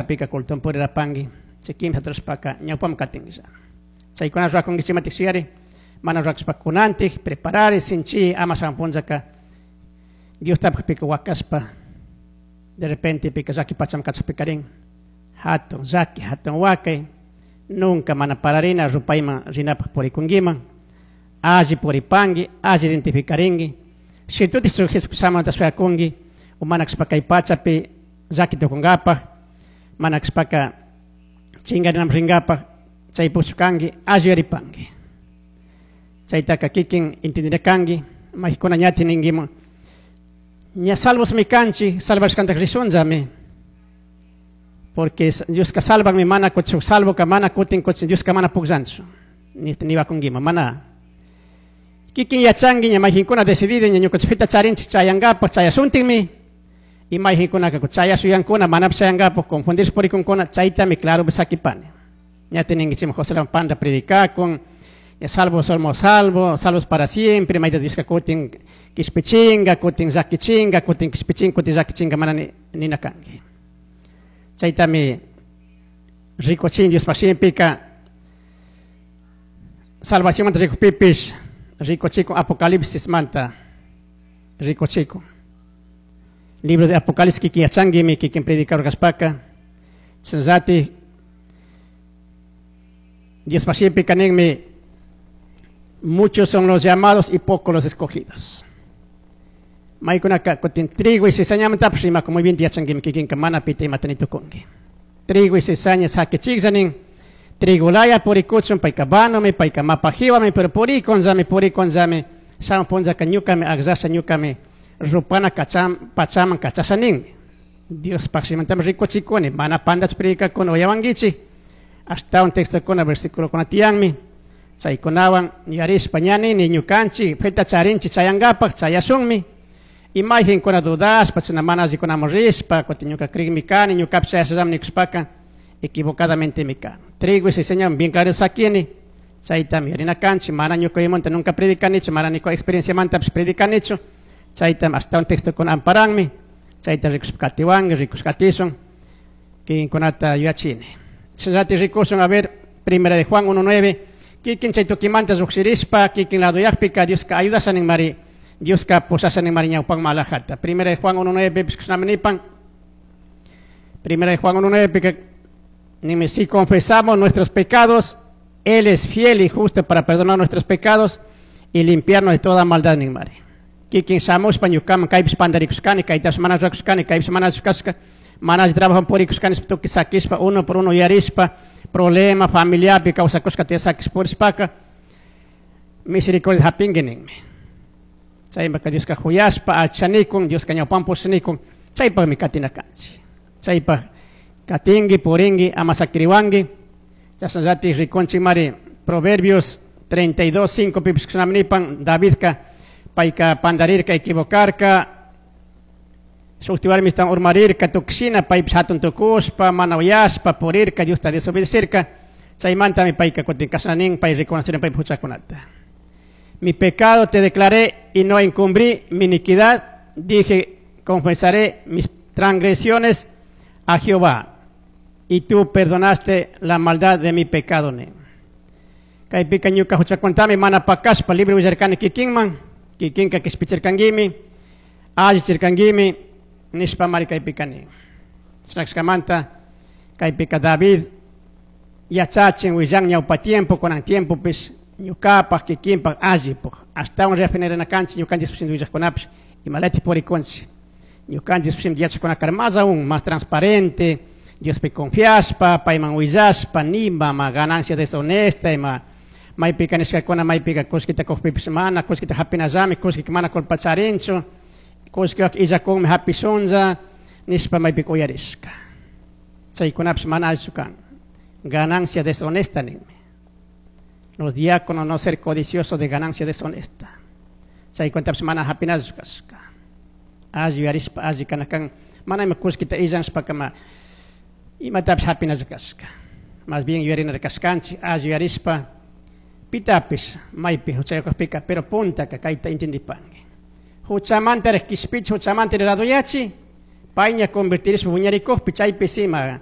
Pachapika culton purirapangui, chay kimsata rurashpaka ñawpaman katinlla. Chaykuna rurakunkichikmantik shuyari, mana rurakushpa kunantik preparari sinchi ama shamun punllaka Diostapakpika wakashpa de repente pika llaki pachaman kachakpikarin hatun llaki, hatun wakay, nunca mana pararina rupayman rinapak purikunkiman, alli puripanki, alli identificarinki, shitutik Jesucristo shamunata shuyakunki, o mana kashpa kay pachapi llaki tukunkapak, mana kashpaka chingarinaman rinkapak chay puchukanki, alli yuyaripanki. Chaytaka kikin entendina kanki, maykuna ñati ninkiman, ña salvosmi kanchik, salvashkantak rishunllami, porque Dioska salvanmi, mana kutin salvoka mana kutin kutin Dioska mana pukllanchu, niwakunkiman, mana. Kikin yachanki ña mayjinkuna decidido ña ñukanchik feta charinchik chayankapak chayasuntinmi, y mayjinkunaka chayashuyankuna manapish chayankapak confundirse purikunkuna, chaytami claro sakipani. Ña tininkichikman José Ramón Panda predicakun, ña salvos somos salvos, salvos para siempre, mayta Dioska kutin kishpichinga, kutin llakichinga, kutin kishpichinga, kutin llakichinga, mana nina kanki. Chaytami rikuchin Diospaj shimipika, salvacionmanta rikukpipish rikuchikun Apocalipsis manta rikuchikun. Libro de Apocalipsis kikin yachanguimi, kikin predicador kashpaka, chashnallati Diospaj shimipika ninmi, muchos son los llamados y pocos los escogidos. Maykunaka kutin trigo y cizañamantapish rimakun, muy bien yachanguimi kikinka mana pita imata nitukunki. Trigo y cizaña sakichikllanin, trigo laya purikuchun, payka vanomi, payka mapajiwami, pero purikunllami, purikunllami, shamun punllaka ñukami akllasha ñukami rupana kacham, pachaman kachasha ninmi. Diospaj shimantami rikuchikuni, mana pandach predicakuni uyawankichik, ashtawan textokuna versiculokuna tiyanmi, chaykunawan yarishpa ña nini ñukanchik feta charinchik chayankapak chayashunmi, y mayjinkuna dudashpa chashna mana allikunaman rishpa, kutin ñuka crikmi kani, ñukapish chayashallami nikushpaka equivocadamentemi kan. Trigo y cizaña bien claro sakini, chaytami yarina kanchik, mana ñukaymunta nunca predicanichu, mana ñuka experienciamantapish predicanichu, chaytami ashtawan textokuna amparanmi, chayta rikushpa katiwanki, rikushpa katishun, kikinkunata yuyachini. Chayllati rikushun, a ver, primera de Juan 1:9, kikin chay tukimanta llukshirishpa, kikin ladoyakpika, Dioska ayudasha ninmari, Dioska pushasha ninmari ñawpanman alajata. Primera de Juan 1:9, pipish kushnami nipan. Primera de Juan 1:9, pika, ninmi, si confesamos nuestros pecados, Él es fiel y justo para perdonar nuestros pecados y limpiarnos de toda maldad ninmari. Kikin shamushpa ñukaman kaypish pandarikushkani, kaytash mana rurakushkani, kaypish mana rurakushkashka, mana alli trabajo purikushkani, tukuy sakishpa, uno por uno yarishpa, problema familiarpi kawsakushka tiya sakish purishpaka, misericordia hapinki ninmi. Chaymaka Dioska juyashpa, achanikun, Dioska ñawpan pushanikun, chaypakmi katina kanchik. Chaypak katinki, purinki, ama sakiriwanki. Chashnallati rikunchikmari Proverbios 32:5 pipish kushnami nipan, Davidka payka pandarirka, equivocarka, shukti warmistan urmarirka, tukshina paypish hatun tukushpa, mana uyashpa, purirka, Diosta desobedecerka. Chaymantami payka kutin kashna nin, pay reconocer paypa huchakunata. Mi pecado te declaré y no encubrí mi iniquidad. Dije, confesaré mis transgresiones a Jehová, y tú perdonaste la maldad de mi pecado. Ne. Kaypika ñuka huchakuntami mana pakashpa libre willarkani kikinman, kikinka kishpichirkanguimi, allichirkanguimi, nishpa mari kaypika nin. Chashnakamanta kaypika David yachachin willan ñawpa tiempo, kunan tiempopish ñukapak kikinpak allipuk, ashtawan refinarina kanchik ñukanchik pishim willajkunapish imalati purikunchik. Ñukanchik pishim yachakuna más aún, más transparente, Diospi confiashpa, payman willashpa, nima ma ganancia deshonesta, ima maypika nishkakuna, maypika kullkita kukpipish mana, kullkita hapinallami, kullkika mana culpa charinchu, kullkiwak illakunmi hapishunlla, nishpa maypika uyarishka. Chaykunapish mana allichu kan. Ganancia deshonesta ninmi. Los diáconos no ser codiciosos de ganancia deshonesta. Chaykunatapish mana hapinallichu kashka. Alli uyarishpa, alli kanakan, mana ima kullkita illanshpaka ma imatapish hapinalli kashka. Más bien yuyarina kashkanchik, alli uyarishpa, pitapish maypi huchayakukpika, pero puntaka kayta entendipanki. Huchamantaraj kishpichi, huchamantaraj raduyachi, payña convertirishpa wiñarikukpi, chaypi sima